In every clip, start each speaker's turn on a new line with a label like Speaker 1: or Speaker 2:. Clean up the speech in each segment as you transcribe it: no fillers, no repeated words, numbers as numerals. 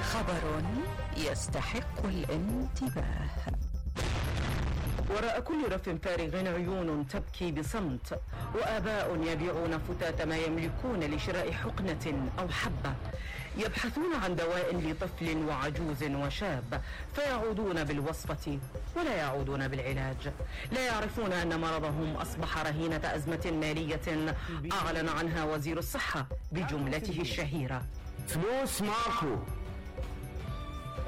Speaker 1: خبر يستحق الانتباه. وراء كل رف فارغ عيون تبكي بصمت، وآباء يبيعون فتات ما يملكون لشراء حقنة أو حبة، يبحثون عن دواء لطفل وعجوز وشاب، فيعودون بالوصفة ولا يعودون بالعلاج. لا يعرفون أن مرضهم أصبح رهينة أزمة مالية أعلن عنها وزير الصحة بجملته الشهيرة:
Speaker 2: فلوس ماكو.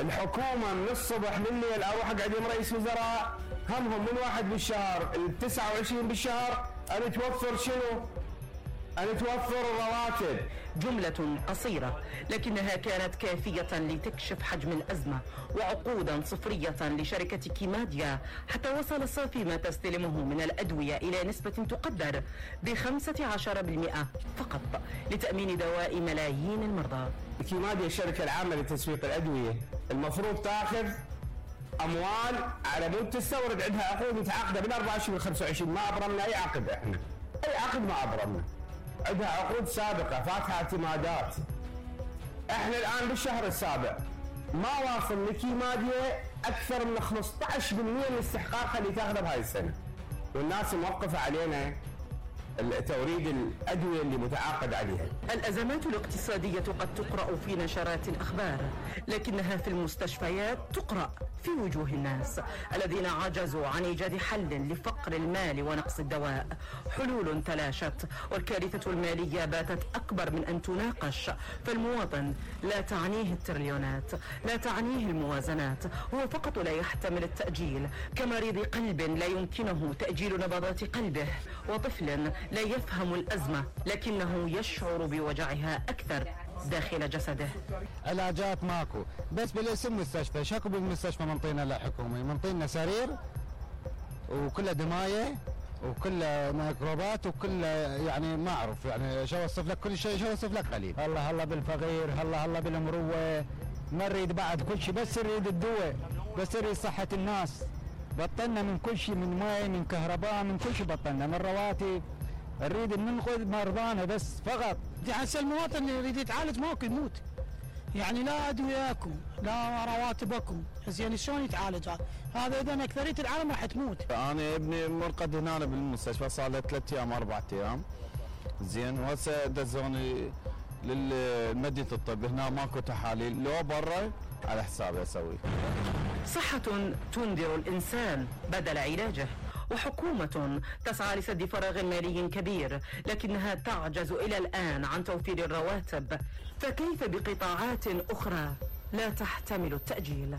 Speaker 2: الحكومة من الصبح لليل أروح أقعد مع رئيس وزراء، همهم من 1 بالشهر ال 29 بالشهر أن توفر شنو؟ أن توفر الرواتب.
Speaker 1: جملة قصيرة لكنها كانت كافية لتكشف حجم الأزمة وعقودا صفرية لشركة كيماديا، حتى وصل صافي ما تستلمه من الأدوية إلى نسبة تقدر ب15% فقط لتأمين دواء ملايين المرضى.
Speaker 2: كيماديا الشركة العامة لتسويق الأدوية المفروض تاخذ أموال على مود تستورد، عندها عقود متعاقدة من 24 و 25، ما أبرمنا أي عقد، إحنا أي عقد ما أبرمنا، عندها عقود سابقة فاتها اعتمادات. احنا الان بالشهر السابع ما واصل لكيماديا اكثر من 15% من استحقاقها اللي تاخذه بهاي السنة، والناس موقفة علينا توريد الأدوية اللي متعاقد عليها.
Speaker 1: الأزمات الاقتصادية قد تقرأ في نشرات الأخبار، لكنها في المستشفيات تقرأ في وجوه الناس الذين عجزوا عن إيجاد حل لفقر المال ونقص الدواء. حلول تلاشت، والكارثة المالية باتت أكبر من أن تناقش، فالمواطن لا تعنيه التريليونات، لا تعنيه الموازنات، هو فقط لا يحتمل التأجيل، كمريض قلب لا يمكنه تأجيل نبضات قلبه، وطفل لا يفهم الأزمة لكنه يشعر بوجعها أكثر داخل جسده.
Speaker 3: علاجات ماكو، بس بالاسم مستشفى. شكو بالمستشفى منطينا لا حكومي، منطينا سرير وكله دمايه وكله ميكروبات وكله يعني ما اعرف يعني شو اوصف لك، كل شيء شو اوصف لك قليل. هلا هلا بالفقير، هلا هلا بالمروه، ما نريد بعد كل شيء، بس نريد الدواء، بس نريد صحه الناس. بطلنا من كل شيء، من ماء، من كهرباء، من كل شيء بطلنا، من رواتب. نريد ننقذ مرضانا بس فقط.
Speaker 4: هسه المواطن اللي يريد يتعالج ماكو، يموت. يعني لا ادويه اكو، لا رواتب اكو، زين شلون يتعالج هذا؟ اذا اكثريه العالم راح تموت.
Speaker 3: انا ابني مرقد هنا بالمستشفى صار له 3 ايام 4 ايام، زين، وهسه دزوني للمدينه الطب، هنا ماكو تحاليل، لو برا على حسابي اسوي.
Speaker 1: صحة تنذر الإنسان بدل علاجه، وحكومة تسعى لسد فراغ مالي كبير لكنها تعجز إلى الآن عن توفير الرواتب، فكيف بقطاعات أخرى لا تحتمل التأجيل؟